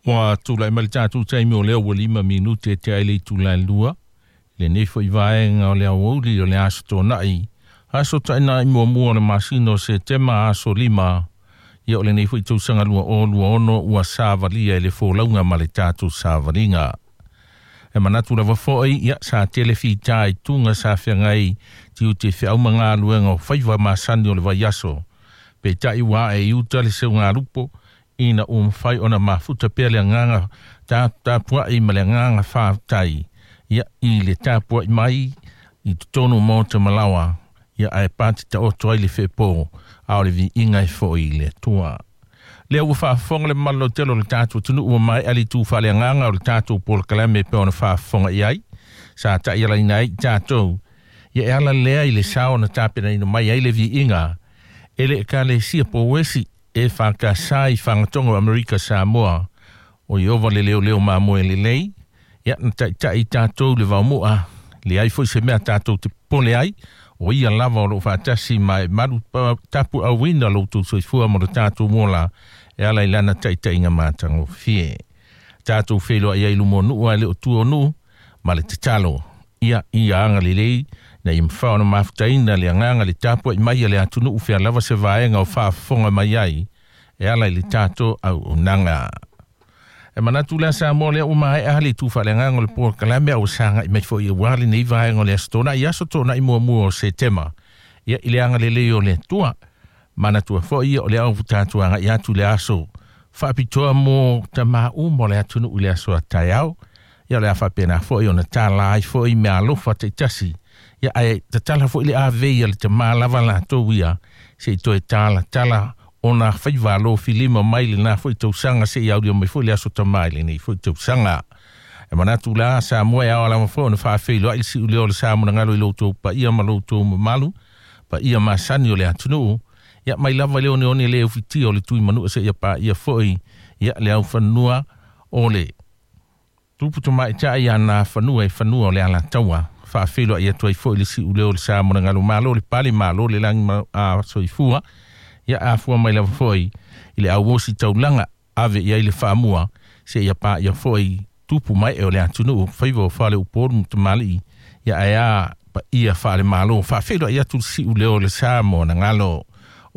Ua tulai mai le tatou taimi o lea ua 5 minute e tea ai le itula e 2 lenei foi vaega o le aoauli o le aso Toonai, aso tainai muamua o le masina o Setema, aso 5 ia o lenei foi tausaga 2026, ua savalia i le folauga ma le tatou savaliga. E manatu lava foi, ia sa tele fita i tuga sa feagai tiute feau ma galuega o faiva masani o le vaiaso, peitai ua ae i uta le seugalupo ina ua mafai ona mafuta pea le agaga tapua'i ma le agaga faafetai ia i le tapua'i mai i totonu maota malawa ia ae pati taoto ai le feepo a o le viiga e fo'i i le Atua. Lea ua faafofoga le mamalu lautele o le tatou atunuu, ua maea le itu faaleagaga o le tatou polokalame e pei ona faafofoga i ai sa ta'ialaina ai i tatou ia e ala lea i le sao na tapenaina mai ai le viiga e le Ekalesia Pouesi e Fakasā i Fagatogo o Amerika Samoa o Ieova le Leoleo Mamoe Lelei. Ia na taʻitaʻi tatou le vaomu'a, leai foi se mea tatou te popole ai, o ia lava o loo faatasi ma e malu tapuauina lo outou soifua mo le tatou mola e ala i lana taʻitaʻiga matagofie. Tatou feiloai ai luma o nuu ae le o tua o nuu ma le tatalo ia ia agalelei na ia mafai ona mafutaina le agaga le tapua'i mai a le atunuu fea lava se vaega o faafofoga mai ai e ala i le tatou auaunaga. E manatu lea Samoa lea ua maea le itu faaleagaga o le polokalame a ua sagai mai foi auā lenei vaega o le aso Toonai, aso Toonai muamua o Setema, ia i le agalelei o le Atua. Manatua foi ia o le au tatou agai atu le aso faapitoa mo tamā uma o le atunuu i le aso a taeao. Ia o le a faapena foi ona tala ai foi mea alofa taitasi ia ae tatala foi le avei a le tamā lava latou ia se i toe talatala ona faiva alofilima mai lena foi tausaga seia aulia mai foi le aso tamā i lenei foi tausaga. E manatu la Samoa e ao lava foi ona faafeiloai le siuleo o le sa monagalo i lo outou paia ma lo outou mamalu, paia masani o le atunuu, ia mai lava i le oneone le ufitia o le tui manua seia paia foi ia le aufanua o le tupu tamaitai ia na fanua e fanua o le Alataua. Faafeiloai atu ai foi le siuleo o le sa monagalo. Malo le pale, malo le lagi a soifua. Ia afua mai lava foi i le auosi taulaga ave i ai le faamua seia paia foi tupu mai e o le atunuu faiva o fale upolu ma tamalii ia ae a paia faalemalo. Faafeiloai atu le siuleo o le sa monagalo.